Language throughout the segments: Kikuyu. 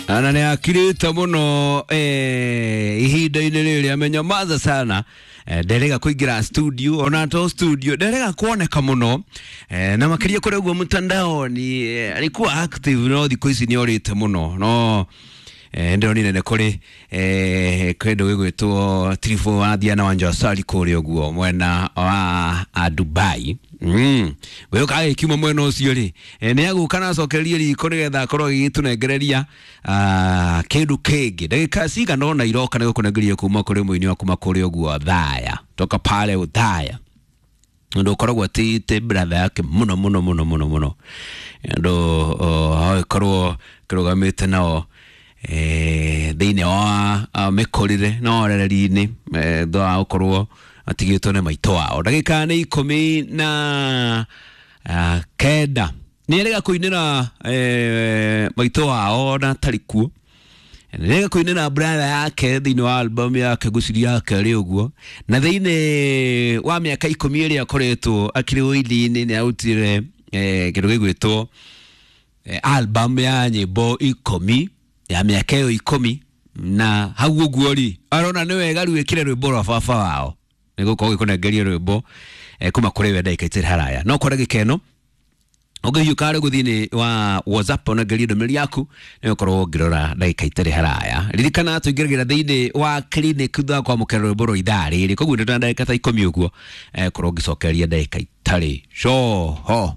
Na nĩ akirĩte mũno ihinda-inĩ rĩrĩ amenyamaza sana, nderega kũingĩra studio, ona to studio nderega kuoneka mũno, na makĩria kũrĩa ũguo mtandaoni alikuwa active, no thikũ ici nĩ orĩte mũno. No ndĩronire nĩ kũrĩ kĩndũ gĩgwĩtwo Trifo wathia na Wanja Sali kũrĩa ũguo mwena wa Dubai. Gũgĩũka agĩkiuma mwena ũcio rĩ, nĩ agũka na acokererie riko nĩgetha akorwo agĩgĩtũnengereria kĩndũ kĩngĩ ndagĩka cigana ũna iroka nĩ gũkũnengereria kuma kũrĩ mũini wa kuma kũrĩa ũguo Thaya, toka pale Uthaya, ũndũ ũkoragwo atĩte brother yake mũno mũno mũno mũno mũno, ũndũ agĩkorwo kĩrũgamĩte nao thĩinĩ wa mĩkũrĩre na orereri-inĩ, thutha wa gũkorwo atigĩtwo nĩ maitũ wao. Ndagĩka nĩ 19 nĩ erega kũinĩra maitũ wao na atarĩ kuo, nĩrega kũinĩra brother yake thĩinĩ wa album yake ngũciria yake rĩ ũguo. Na thĩinĩ wa mĩaka 10 ĩrĩa akoretwo akĩrĩ ũini-inĩ, nĩ arutire kĩndũ gĩgwĩtwo album ya nyĩmbo 10 ya mĩaka ĩyo 10. Na hau ũguo rĩ, arona nĩ wega rĩu ĩkĩre rwĩmbo rwa baba wao nĩ gũkorwo gĩkũnengeria rwĩmbo kuma kũrĩ we ndagĩka itarĩ haraya. No kwa ndagĩka ĩno ũngĩhiũka rĩu thĩinĩ wa WhatsApp ũnengerie ndũmĩrĩri yaku, nĩ ũkorwo ngĩrora ndagĩka itarĩ haraya. Ririkana tũingĩragĩra thĩinĩ wa clinic thutha wa kwamũkĩra rwĩmbo rwa ithaa rĩrĩ, koguo nĩ ndagĩka ta 10 ũguo, korwo ngĩcokereria ndagĩka itarĩ coho.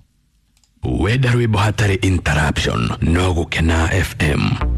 Wenda rwĩmbo hatarĩ interruption no Gũkena FM.